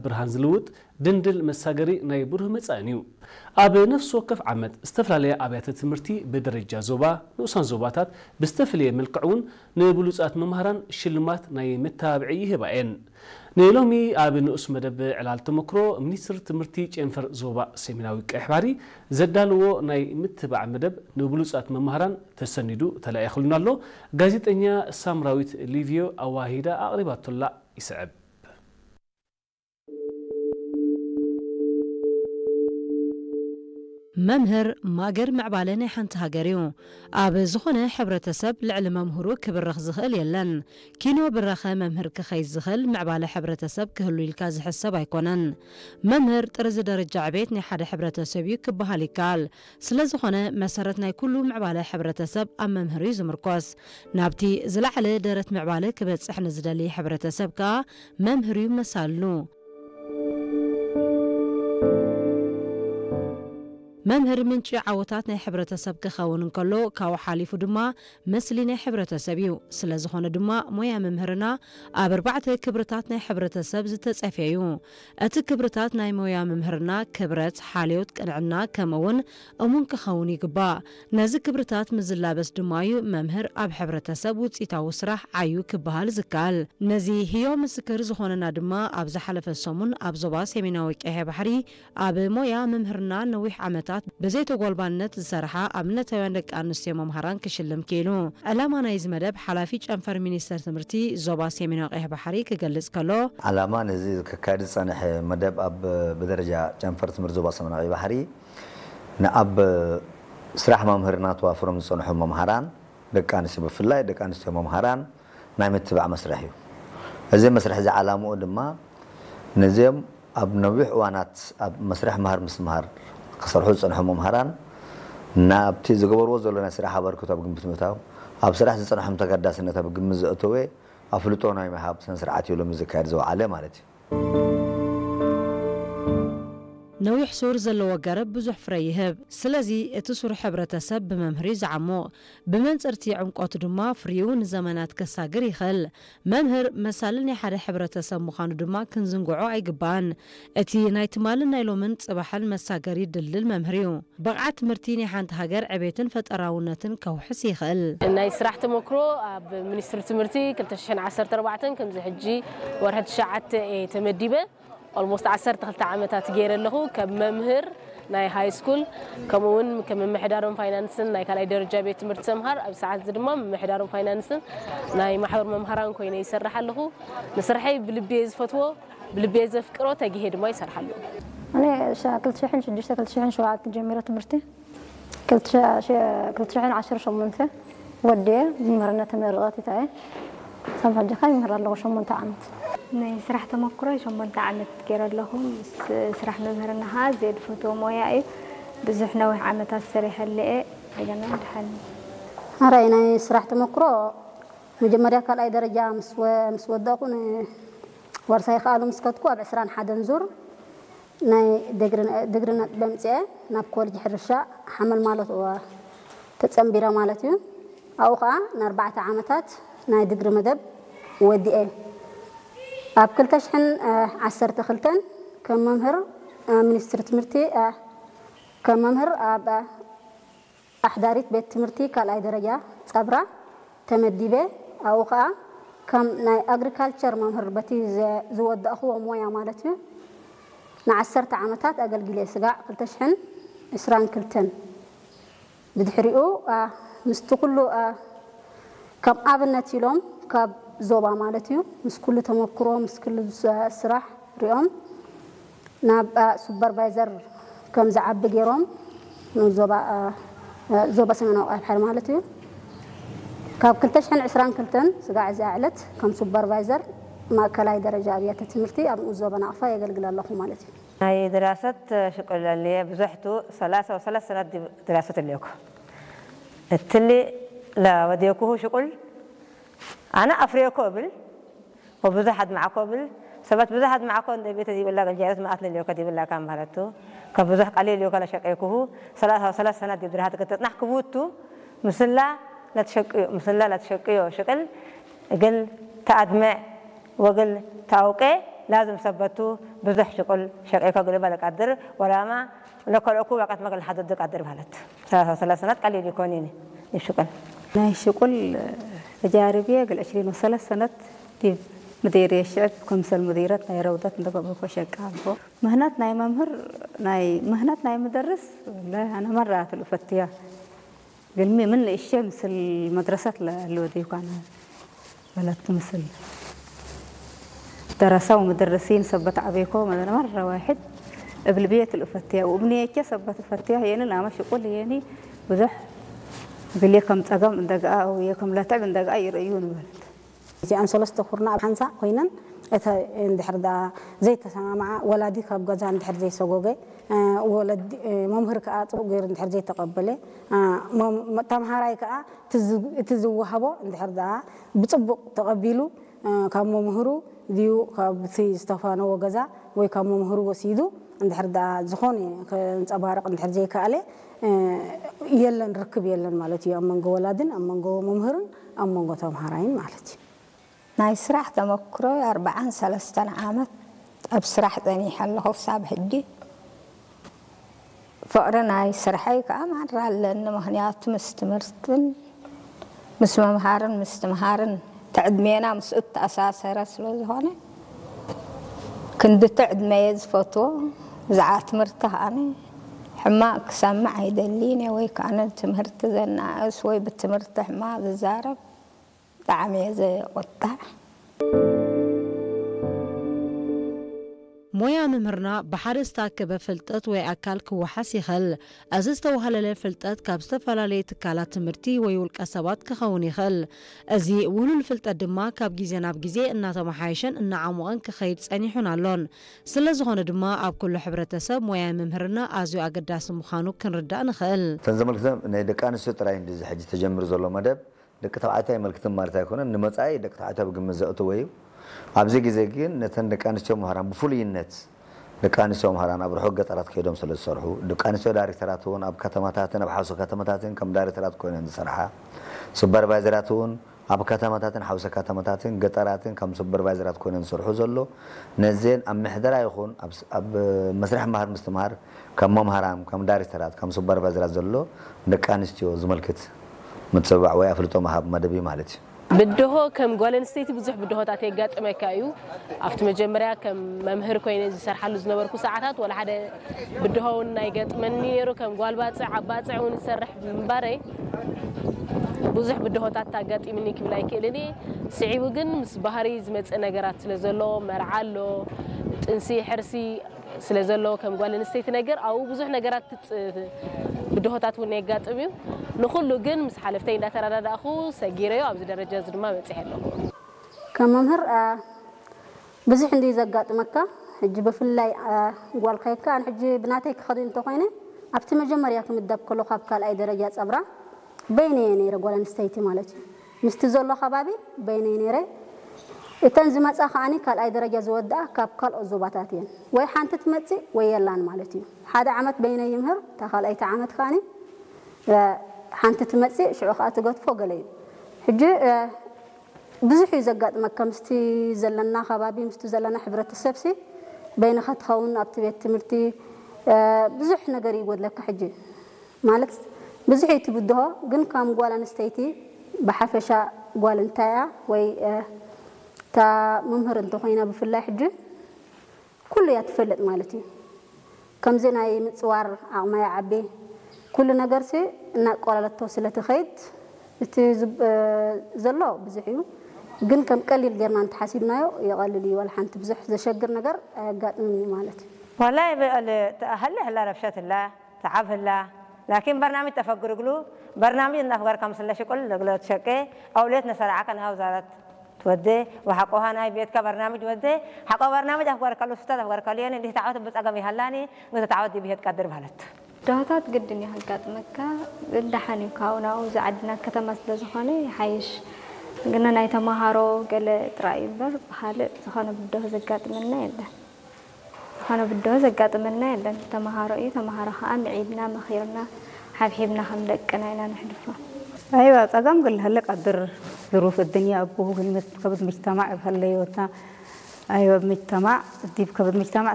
ብርሃን ዝልውጥ ድንድል መሳገሪ ናይ ብሩህ መጻእን እዩ። ኣብ ነፍሲ ወከፍ ዓመት ዝተፈላለያ ኣብያተ ትምህርቲ ብደረጃ ዞባ፣ ንኡሳን ዞባታት ብዝተፈለየ መልክዕ እውን ንብሉጻት መምሃራን ሽልማት ናይ መተባብዒ ይህባ እየን። ንሎሚ ኣብ ንኡስ መደብ ዕላል ተመክሮ ሚኒስትር ትምህርቲ ጨንፈር ዞባ ሰሜናዊ ቀይሕ ባሕሪ ዘዳለዎ ናይ ምትባዕ መደብ ንብሉጻት መምሃራን ተሰኒዱ ተላኢኽሉና ኣሎ። ጋዜጠኛ ሳምራዊት ሊቪዮ ኣዋሂዳ ኣቕሪባቶላ ይስዕብ። መምህር ማገር ምዕባለ ናይ ሓንቲ ሃገር እዩ። ኣብ ዝኾነ ሕብረተሰብ ልዕሊ መምህሩ ክብረኽ ዝኽእል የለን። ኪኖ ብረኸ መምህር ክኸይድ ዝኽእል ምዕባለ ሕብረተሰብ ክህሉ ኢልካ ዝሕሰብ ኣይኮነን። መምህር ጥርዚ ደረጃ ዕቤት ናይ ሓደ ሕብረተሰብ እዩ ክበሃል ይከኣል። ስለ ዝኾነ መሰረት ናይ ኩሉ ምዕባለ ሕብረተሰብ ኣብ መምህር እዩ ዝምርኮስ። ናብቲ ዝለዓለ ደረት ምዕባለ ክበጽሕ ንዝደሊ ሕብረተሰብ ከኣ መምህር እዩ መሳልሉ። መምህር ምንጪ ዓወታት ናይ ሕብረተሰብ ክኸውን እንከሎ፣ ካብኡ ሓሊፉ ድማ ምስሊ ናይ ሕብረተሰብ እዩ። ስለ ዝኾነ ድማ ሞያ መምህርና ኣብ ኣርባዕተ ክብርታት ናይ ሕብረተሰብ ዝተጸፍየ እዩ። እቲ ክብርታት ናይ ሞያ መምህርና ክብረት፣ ሓልዮት፣ ቅንዕና፣ ከምኡ እውን እሙን ክኸውን ይግባእ። ነዚ ክብርታት ምስ ዝላበስ ድማ እዩ መምህር ኣብ ሕብረተሰብ ውጽኢታዊ ስራሕ ዓዩ ክበሃል ዝከኣል። ነዚ ህዮ ምስክር ዝኾነና ድማ ኣብ ዝሓለፈ ሰሙን ኣብ ዞባ ሰሜናዊ ቀይሕ ባሕሪ ኣብ ሞያ መምህርና ነዊሕ ዓመታት ብዘይተጎልባነት ዝሰርሓ ኣብነታውያን ደቂ ኣንስትዮ መምሃራን ክሽልም ክኢሉ። ዕላማ ናይዚ መደብ ሓላፊ ጨንፈር ሚኒስተር ትምህርቲ ዞባ ሰሜናዊ ቀይሕ ባሕሪ ክገልጽ ከሎ፣ ዕላማ ነዚ ከካይድ ዝጸንሐ መደብ ኣብ ብደረጃ ጨንፈር ትምህርቲ ዞባ ሰሜናዊ ቀይሕ ባሕሪ ንኣብ ስራሕ መምህርና ተዋፍሮም ዝጸንሑ መምሃራን ደቂ ኣንስትዮ ብፍላይ ደቂ ኣንስትዮ መምሃራን ናይ ምትባዕ መስርሕ እዩ። እዚ መስርሕ እዚ ዓላምኡ ድማ ነዚኦም ኣብ ነዊሕ እዋናት ኣብ መስርሕ ምሃር ምስትምሃር ክሰርሑ ዝጸንሑ መምሃራን ናብቲ ዝገበርዎ ዘሎ ናይ ስራሕ ኣበርክቶ ኣብ ግምት ምእታው፣ ኣብ ስራሕ ዝጸንሖም ተገዳስነት ኣብ ግምት ዘእተወ ኣፍልጦ ናይ ምሃብ ስነ ስርዓት እዩ ሎሚ ዝካየድ ዝወዓለ ማለት እዩ። ነዊሕ ሱር ዘለዎ ገረብ ብዙሕ ፍረ ይህብ። ስለዚ እቲ ሱር ሕብረተሰብ ብመምህር እዩ ዝዓሙቕ። ብመንጽርቲ ዕምቆቱ ድማ ፍሪኡ ንዘመናት ከሳግር ይኽእል። መምህር መሳሊ ናይ ሓደ ሕብረተሰብ ምዃኑ ድማ ክንዝንግዖ ኣይግባእን። እቲ ናይ ትማልን ናይ ሎምን ጽባሕን መሳገሪ ድልድል መምህር እዩ። ብቕዓት ትምህርቲ ናይ ሓንቲ ሃገር ዕቤትን ፈጠራውነትን ከውሕስ ይኽእል። ናይ ስራሕ ተመክሮ ኣብ ሚኒስትሪ ትምህርቲ ክልተ ሽሕን ዓሰርተ ኣርባዕተን ከምዚ ሕጂ ወርሒ ትሽዓተ እየ ተመዲበ። ኦልሞስት ዓሰርተ ክልተ ዓመታት ገይረ ኣለኹ። ከም መምህር ናይ ሃይ ስኩል፣ ከምኡ እውን ከም ምምሕዳርን ፋይናንስን ናይ ካልኣይ ደረጃ ቤት ትምህርቲ ሰምሃር፣ ኣብ ሰዓት እዚ ድማ ምምሕዳርን ፋይናንስን ናይ ማሕበር መምሃራን ኮይነ ይሰርሕ ኣለኹ። ንስርሐይ ብልቢ እየ ዝፈትዎ፣ ብልቢ እየ ዘፍቅሮ፣ ተጊሄ ድማ ይሰርሕ ኣለኹ። ኣነ ሻ-፣ ክልተ ሽሕን ሽዱሽተ ክልተ ሽሕን ሸውዓተን ጀሚረ ትምህርቲ ክልተ ሽሕን ዓሰርተ ሸሞንተ ወዲኤ መምህርነት ተመርቐት ይታየ። ሳብ ሕጂ ኸ ይምህር ኣለኹ ሸሞንተ ዓመት። ናይ ስራሕ ተመክሮ ሸሞንተ ዓመት ገይረ ኣለኹ። ምስ ስራሕ መምህርና ኸዓ ዘየድፈትዎ ሞያ እዩ። ብዙሕ ነዊሕ ዓመታት ሰሪሐሉ እየ። እንደገና ድሓን። ኣራይ ናይ ስራሕ ተመክሮ መጀመርያ ካልኣይ ደረጃ ምስ ወ-፣ ምስ ወደቕኩ ን-፣ ዋርሳይ ከኣሉ ምስ ከድኩ ኣብ ዕስራን ሓደን ዙር ናይ ድግሪ-፣ ድግሪ ነጥቢ ኣምጺኤ ናብ ኮሌጅ ሕርሻ ሓመል ማለት እዋ ተጸንቢረ ማለት እዩ። ኣብኡ ኸኣ ንኣርባዕተ ዓመታት ናይ ድግሪ መደብ ወዲኤ። ኣብ ክልተ ሽሕን ዓሰርተ ክልተን ከም መምህር፣ እ፣ ሚኒስትሪ ትምህርቲ፣ እ፣ ከም መምህር ኣብ፣ እ፣ ኣሕዳሪት ቤት ትምህርቲ ካልኣይ ደረጃ ጸብራ ተመዲበ። ኣብኡ ኸኣ ከም ናይ ኣግሪካልቸር መምህር በቲ ዘ-፣ ዝወዳእኽዎ ሞያ ማለት እዩ ንዓሰርተ ዓመታት ኣገልጊለ። ስጋዕ ክልተ ሽሕን ዕስራን ክልተን ብድሕሪኡ፣ ኣ፣ ምስቲ ኩሉ፣ ኣ፣ ከም ኣብነት ኢሎም ካብ ዞባ ማለት እዩ ምስ ኩሉ ተመክሮ ምስ ኩሉ ስ-፣ ስራሕ ሪኦም ናብ፣ ኣ፣ ሱፐርቫይዘር ከም ዝዓቢ ገይሮም ንዞባ፣ ኣ፣ ዞባ ሰሜናዊ ቀይሕ ባሕሪ ማለት እዩ። ካብ ክልተ ሽሕን ዕስራን ክልተን ስጋዕ እዚኣ ዕለት ከም ሱፐርቫይዘር ማእከላይ ደረጃ ኣብያተ ትምህርቲ ኣብ ንኡስ ዞባ ናቕፋ የገልግል ኣለኹ ማለት እዩ። ናይ ድራሰት ሽቁል ኣልየ ብዙሕቱ ሰላሳ ወሰላሳ ሰናት ድራሰት ኣልየኩ። እትሊ ለወዴኩሁ ሽቁል ኣነ ኣፍሬኮ እብል ወብዙሕ ኣድማዕኮ እብል። ሰባት ብዙሕ ኣድማዕኮ እንደ ቤተ ዲብላ ገልጃረት መኣት ለልዮከ ዲብላ ካም ማለቱ። ከብዙሕ ቃሌ ልዮከ ለሸቀይኩሁ ሰላሳ ወሰላሳ ሰናት ዲብ ድራሃት ገተጽናሕ ክቡቱ ምስላ ለትሸቅዮ፣ ምስላ ለትሸቅዮ ሽቅል እግል ተኣድመዕ ወግል ተኣውቄ ላዝም ሰበቱ ብዙሕ ሽቁል ሸቂኮ ግልበ ለቃድር ወላማ ለከልኦኩ ወቀት መግል ሓደዱ ቃድር ማለት ሰላሳ ሰላሳ ሰነት ቀሊል ይኮን ይኒ ይሽቁል ናይ ሽቁል ተጃርብየ ግል ዕሽሪን ወሰለስተ ሰነት ዲብ ምዲር የሽዕብ ከምሰል ሙዲረት ናይ ረውደት እንደገበኮ ሸቃ ኣልፎ ምህናት ናይ መምህር ናይ ምህናት ናይ ምደርስ ወላሂ ኣነ መራ ትልፈትያ ግልሚ ምን እሸ ምስል መድረሰት ለልወደይኳነ በለት ምስል ደረሳ ወምደረሲን ሰበት ዓቤኮ መረ ዋሕድ እብል ብየ ትልፈትያ ወእምንየቸ ሰበት ፈትያ የኒ ናመ ሽቁል የኒ ብዙሕ ግሌ ከም ጸገም እንደገኣ ወይ ከም ለትዕብ እንደገኣ ይርእዩ ንበለት። እዚኣን ሰለስተ ኩርና ኣብ ሓንሳእ ኮይነን እተ እንድሕር ደኣ ዘይተሰማምዓ ወላዲ ካብ ገዛ እንድሕር ዘይሰጎገ ወለዲ መምህር ከኣ ጽቡቕ ገይሩ እንድሕር ዘይተቐበለ ተምሃራይ ከኣ እቲ ዝወሃቦ እንድሕር ደኣ ብጽቡቕ ተቐቢሉ ካብ መምህሩ ድዩ ካብቲ ዝተፋነዎ ገዛ ወይ ካብ መምህሩ ወሲዱ እንድሕር ደኣ ዝኾነ ከንጸባርቕ እንድሕር ዘይከኣለ የለን ርክብ የለን ማለት እዩ ኣብ መንጎ ወላድን ኣብ መንጎ መምህርን ኣብ መንጎ ተምሃራይን ማለት እዩ። ናይ ስራሕ ተመክሮ ኣርባዓን ሰለስተን ዓመት ኣብ ስራሕ ጸኒሐ ኣለኹ ክሳብ ሕጂ። ፍቕሪ ናይ ስርሐይ ከኣ ማራ ኣለኒ፣ ምኽንያቱ ምስ ትምህርትን ምስ ምምሃርን ምስትምሃርን እቲ ዕድሜና ምስኡ እተኣሳሰረ ስለ ዝኾነ ክንድቲ ዕድመየ ዝፈትዎ ብዛዕባ ትምህርቲ ከኣነ ሕማቕ ክሰምዕ ኣይደልን እየ ወይ ከኣነ ትምህርቲ ዘናእስ ወይ ብትምህርቲ ሕማቕ ዝዛረብ ብጣዕሚ እየ ዘቆጣዕ። ሞያ ምምህርና ብሓደ ዝተኣከበ ፍልጠት ወይ ኣካል ክወሓስ ይኽእል። እዚ ዝተዋህለለ ፍልጠት ካብ ዝተፈላለዩ ትካላት ትምህርቲ ወይ ውልቀ ሰባት ክኸውን ይኽእል። እዚ ውህሉል ፍልጠት ድማ ካብ ግዜ ናብ ግዜ እናተመሓየሸን እናዓሞቐን ክኸይድ ጸኒሑን ኣሎን። ስለ ዝኾነ ድማ ኣብ ኩሉ ሕብረተሰብ ሞያ ምምህርና ኣዝዩ ኣገዳሲ ምዃኑ ክንርዳእ ንኽእል። እተን ዘመልክተን ናይ ደቂ ኣንስትዮ ጥራይ እንድዩ እዚ ሕጂ ተጀሚሩ ዘሎ መደብ። ደቂ ተባዕትዮ ኣይመልክትን ማለት ኣይኮነን፣ ንመጻኢ ደቂ ተባዕትዮ ኣብ ግምት ዘእትዎ እዩ። ኣብዚ ግዜ ግን ነተን ደቂ ኣንስትዮ መምህራን ብፍሉይነት ደቂ ኣንስትዮ መምህራን ኣብ ርሑቕ ገጠራት ከይዶም ስለ ዝሰርሑ፣ ደቂ ኣንስትዮ ዳይሬክተራት እውን ኣብ ከተማታትን ኣብ ሓውሲ ከተማታትን ከም ዳይሬክተራት ኮይነን ዝሰርሓ፣ ሱፐርቫይዘራት እውን ኣብ ከተማታትን ሓውሲ ከተማታትን ገጠራትን ከም ሱፐርቫይዘራት ኮይነን ዝሰርሑ ዘሎ፣ ነዘን ኣብ ምሕደራ ይኹን ኣብ መስርሕ ምሃር ምስትምሃር ከም መምሃራን፣ ከም ዳይሬክተራት፣ ከም ሱፐርቫይዘራት ዘሎ ንደቂ ኣንስትዮ ዝመልክት ምትብባዕ ወይ ኣፍልጦ ምሃብ መደብ እዩ ማለት እዩ። ብድሆ ከም ጓል ኣንስተይቲ ብዙሕ ብድሆታት የጋጥመካ እዩ። ኣብቲ መጀመርያ ከም መምህር ኮይነ ዝሰርሓሉ ዝነበርኩ ሰዓታት ወላ ሓደ ብድሆ እውን ኣይገጥመኒ ነይሩ። ከም ጓል ባፅዕ ኣብ ባፅዕ እውን ዝሰርሕ ምንባረይ ብዙሕ ብድሆታት ኣጋጢምኒ ክብል ኣይክእልን እየ። ስዒቡ ግን ምስ ባህሪ ዝመፅእ ነገራት ስለ ዘሎ መርዓ ኣሎ፣ ጥንሲ፣ ሕርሲ፣ ስለ ዘሎ ከም ጓል ኣንስተይቲ ነገር ኣብኡ ብዙሕ ነገራት ትፅ ብድሆታት እውን የጋጥም እዩ። ንኹሉ ግን ምስ ሓለፍተይ እንዳተረዳዳእኹ ሰጊረዮ ኣብዚ ደረጃ እዚ ድማ በፂሐ ኣለኹ። ከም መምህር ብዙሕ እንድዩ ዘጋጥመካ። ሕጂ ብፍላይ ጓል ከይካ ኣነ ሕጂ ብናተይ ክኸድ እንተኮይነ ኣብቲ መጀመርያ ክምደብ ከሎ ካብ ካልኣይ ደረጃ ፀብራ በይነየ ነይረ ጓል ኣንስተይቲ ማለት እዩ። ምስቲ ዘሎ ከባቢ በይነይ ነይረ። እተን ዝመፃ ከዓኒ ካልኣይ ደረጃ ዝወድኣ ካብ ካልኦት ዞባታት እየን። ወይ ሓንቲ ትመፅእ ወይ የላን ማለት እዩ። ሓደ ዓመት በይነይ ይምህር፣ እታ ካልኣይቲ ዓመት ከዓኒ ሓንቲ ትመፅእ፣ ሽዑ ከዓ ትገድፎ ገለ እዩ። ሕጂ ብዙሕ እዩ ዘጋጥመካ ምስቲ ዘለና ከባቢ ምስቲ ዘለና ሕብረተሰብሲ በይንኻ ትኸውን ኣብቲ ቤት ትምህርቲ ብዙሕ ነገር እዩ ይጎድለካ ሕጂ ማለት ብዙሕ እዩ ትብድሆ ግን ከም ጓል ኣንስተይቲ ብሓፈሻ ጓል እንታይ እያ ወይ እታ መምህር እንተኮይና ብፍላይ ሕጂ ኩሉ እያ ትፈልጥ ማለት እዩ። ከምዚ ናይ ምፅዋር ዓቕማ ይዓቢ። ኩሉ ነገርሲ እናቆላለቶ ስለ ትኸይድ እቲ ዘሎ ብዙሕ እዩ። ግን ከም ቀሊል ጌርና እንተሓሲብናዮ ይቐልል እዩ። ዋላ ሓንቲ ብዙሕ ዘሸግር ነገር ኣየጋጥምን እዩ ማለት እዩ። والله هلا هلا رفشت الله تعب هلا لكن برنامج تفكر قلو برنامج النفقر كم سلا شكل لقلت شكي أوليت نسرعك أنها وزارة ትወዴ ወሓቆ ሃናይ ቤትካ በርናምጅ ወዴ ሓቆ በርናምጅ ኣፍገርከሉ ስታት ኣፍገርከሉ የኒ እንዲህ ታዓወት ብጸገም ይሃላኒ ግዘ ታዓወት ዲብሄት ቀድር ማለት ዳህታት ግድን እዩ ከጋጥመካ። ደሓን እዩ ካብኡ ናብኡ እዚ ዓድና ከተማ ስለ ዝኾነ ይሓይሽ። ግና ናይ ተምሃሮ ገለ ጥራይ እዩ እምበር ብኻልእ ዝኾነ ብድሆ ዘጋጥመና የለን። ዝኾነ ብድሆ ዘጋጥመና የለን። ተምሃሮ እዩ፣ ተምሃሮ ኸዓ ምዒድና፣ መኺርና፣ ሓብሒብና ከም ደቅና ኢና ነሕልፎ። ኣይዋ ጸገም ግል هلك قدر ظروف الدنيا أبوه كلمة كبد مجتمع بهالليوتا أيوة، بمجتمع، دي كبر مجتمع